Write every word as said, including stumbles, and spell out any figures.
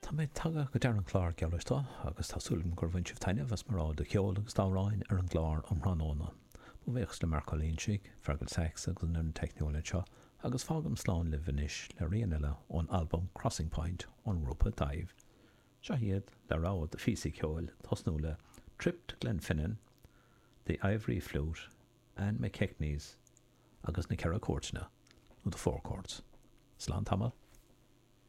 Tá mé tagtha go deireadh an chláir geal agus tá súil agam gur bhain sibh taitneamh as mo rogha de cheol agus d'amhráin ar an gclár um thráthnóna. Mo bhuíochas le Marc Ó Loingsigh, Fergal Sachs agus an fhoireann teicniúil anseo, agus fágaim slán libh anois le rian eile ón albam Crossing Point ón ngrúpa Daimh. Seo iad le rogha de phíosaí ceoil tosnú le Trip to Glenfinnan, The Ivory Flute, Anne McKechnie's agus na Ceithre Cúirteanna, nó The Four Courts. Slán tamall.